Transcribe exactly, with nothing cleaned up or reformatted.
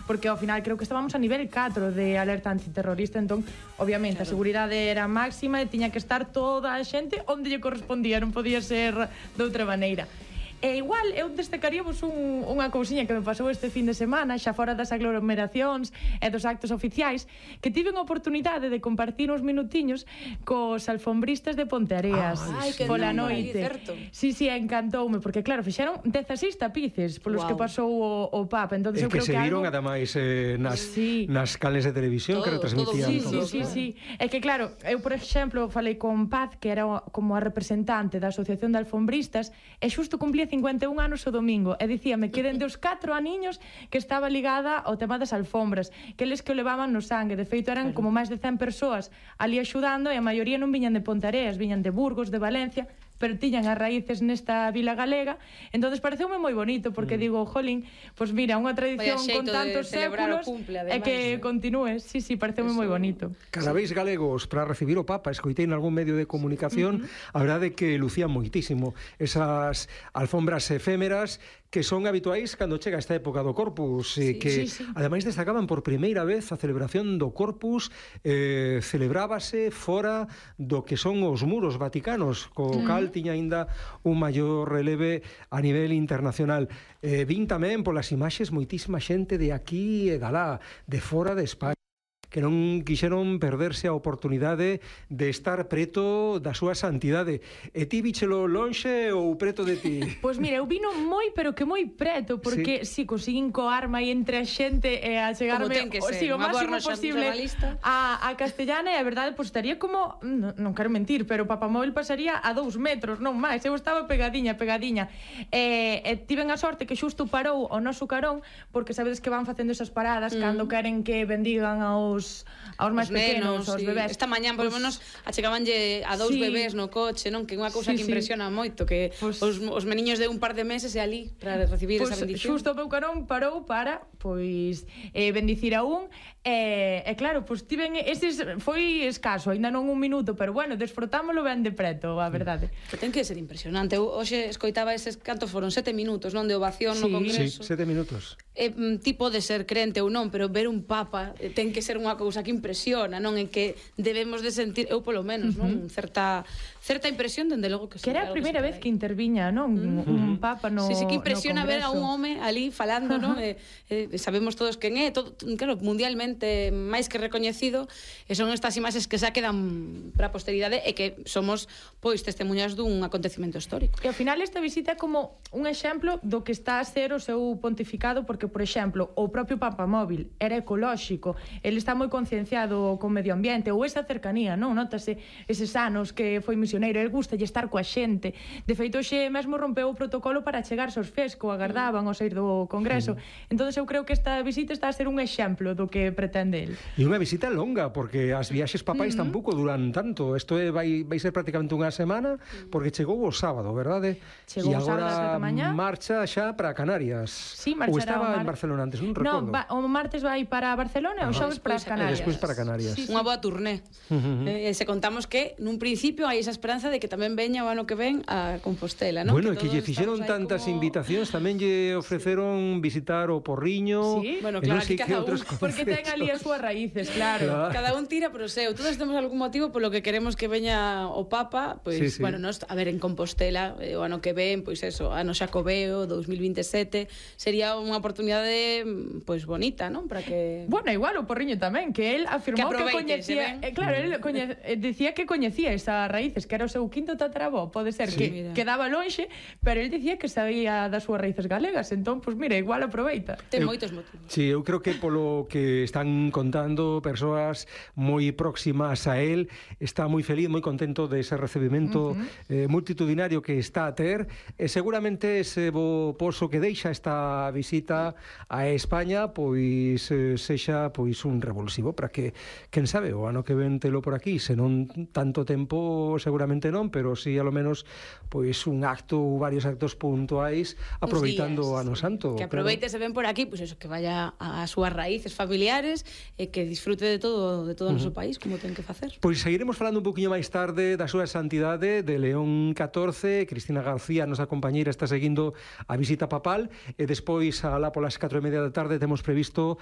porque ao final creo que estábamos a nivel catro de alerta antiterrorista, entón, obviamente, claro, a seguridade era máxima e tiña que estar toda a xente onde lle correspondía, non podía ser de outra maneira. E igual, eu destacaríamos un, unha cousiña que me pasou este fin de semana, xa fora das aglomeracións e dos actos oficiais, que tive unha oportunidade de compartir uns minutiños cos alfombristas de Ponteareas pola noite. Sí, sí, encantoume, porque claro, fixeron dezaseis tapices polos wow. que pasou o, o Papa. Entonces, e eu que creo se que viron, algo... ademais, eh, nas, sí. nas canles de televisión todo, que retransmitían. Sí, sí, sí, sí. É que claro, eu, por exemplo, falei con Paz, que era como a representante da Asociación de Alfombristas, e xusto cumplía cincuenta e un anos o domingo, e dicíame que dende os catro aniños que estaba ligada ao tema das alfombras, que eles que o levaban no sangue. De feito, eran como máis de cen persoas ali axudando, e a maioría non viñan de Ponteareas, viñan de Burgos, de Valencia, pero tiñan as raíces nesta vila galega. Entonces pareceume moi bonito, porque mm. digo, jolín, pois mira, unha tradición con tantos séculos e que ¿no? continúe. Sí, sí, pareceume moi bonito. Casabéis galegos para recibir o Papa, escoitei en algún medio de comunicación, uh-huh. a verdade que lucían moitísimo esas alfombras efémeras que son habituais cando chega esta época do Corpus, e sí, que sí, sí. ademais destacaban por primeira vez a celebración do Corpus, eh, celebrábase fora do que son os muros vaticanos, co mm. cal tiña aínda un maior releve a nivel internacional. Eh, vin tamén polas imaxes moitísima xente de aquí e galá, de fora de España, que non quixeron perderse a oportunidade de estar preto da súa santidade. E ti víchelo lonxe ou preto de ti? Pois mira, eu vino moi, pero que moi preto, porque si, sí, conseguín coarme aí entre a xente e a chegarme o, sí, o máximo posible a, a castellana, e a verdade, pois estaría como, non, non quero mentir, pero o papamóvil pasaría a dous metros, non máis, eu estaba pegadiña, pegadiña. E, e tiven a sorte que xusto parou o noso carón, porque sabedes que van facendo esas paradas mm. cando queren que bendigan aos aos máis pequenos, aos bebés. Esta mañán, por lo menos, achegabanlle a dous sí. bebés no coche, non? Que é unha cousa sí, que impresiona sí. moito, que pues, os, os meniños de un par de meses e ali para recibir pues, esa bendición. Xusto o meu carón parou para, pois, eh, bendicir a un, e, e claro, pois tiven eses, foi escaso, aínda non un minuto, pero bueno, desfrutámolo ben de preto, a verdade. Que ten que ser impresionante. Eu hoxe escoitaba eses, cantos foron? Sete minutos, non? De ovación sí. no Congreso. Sí, sete minutos. Eh, ti pode ser crente ou non, pero ver un Papa ten que ser unha cousa que impresiona, non? En que debemos de sentir, eu polo menos, uh -huh. non? Certa certa impresión, dende logo que que era a primeira vez que interviña, non? Uh -huh. Un Papa no Sí, sí, que impresiona no ver a un home ali falando, uh -huh. non? Eh, eh, sabemos todos quen é, todo, claro, mundialmente máis que recoñecido, e son estas imaxes que xa quedan para a posteridade e que somos, pois, testemunhas dun acontecimento histórico. E ao final esta visita é como un exemplo do que está a ser o seu pontificado, porque, por exemplo, o propio Papamóvil era ecolóxico, ele está moi concienciado co medio ambiente, ou esa cercanía, non? Notase eses anos que foi misioneiro, ele gusta de estar coa xente. De feito, xe mesmo rompeu o protocolo para chegarse aos fesco, agardaban ao sair do Congreso. Mm. Entón, eu creo que esta visita está a ser un exemplo do que pretende ele. E unha visita longa, porque as viaxes papais mm -hmm. tampouco duran tanto. Isto é, vai, vai ser prácticamente unha semana, porque chegou o sábado, verdade? Chegou o sábado ás sete da mañá. Marcha xa para Canarias. Sí, marchará. Ou estaba en Barcelona antes, non recordo. No, va, o martes vai para Barcelona e o xoves para as Canarias. E despois para Canarias. Sí, sí. Unha boa turné. Uh -huh. eh, se contamos que nun principio hai esa esperanza de que tamén veña o ano que ven a Compostela, non? Bueno, que, que lle fixeron tantas como... invitacións, tamén lle ofreceron sí. visitar o Porriño. Sí, bueno, claro, aquí cada un, porque ten ali as súas raíces, claro. claro. Cada un tira pro seu. Todos temos algún motivo polo que queremos que veña o Papa, pois, pues, sí, sí. bueno, nos, a ver, en Compostela, eh, o ano que ven, pois pues eso, ano Xacobeo, dous mil vinte e sete, sería unha oportunidade, pois, pues, bonita, non? Para que... Bueno, igual o Porriño tamén, que él afirmou que, que coñecía... Eh, claro, él coñe, eh, decía que coñecía esas raíces, que era o seu quinto tatarabó, pode ser, sí, que mira. Quedaba lonxe, pero él dicía que sabía das súas raíces galegas, entón, pois, pues, mira, igual aproveita. Ten moitos motivos. Sí, eu creo que polo que están contando persoas moi próximas a él, está moi feliz, moi contento de ese recibimento uh -huh. eh, multitudinario que está a ter, e seguramente ese bo poso que deixa esta visita a España, pois eh, sexa pois un revulsivo para que, quen sabe, o ano que ven telo por aquí, se non tanto tempo seguramente non, pero si sí, a lo menos pois un acto ou varios actos puntuais aproveitando o ano santo. Que aproveite claro. Se ven por aquí, pois pues eso, que vaya ás súas raíces familiares e que disfrute de todo de todo o uh -huh. noso país, como ten que facer. Pois seguiremos falando un poquinho máis tarde da súa santidade de León catorce. Cristina García, nosa compañeira, está seguindo a visita papal, e despois alá polas catro e media da tarde temos previsto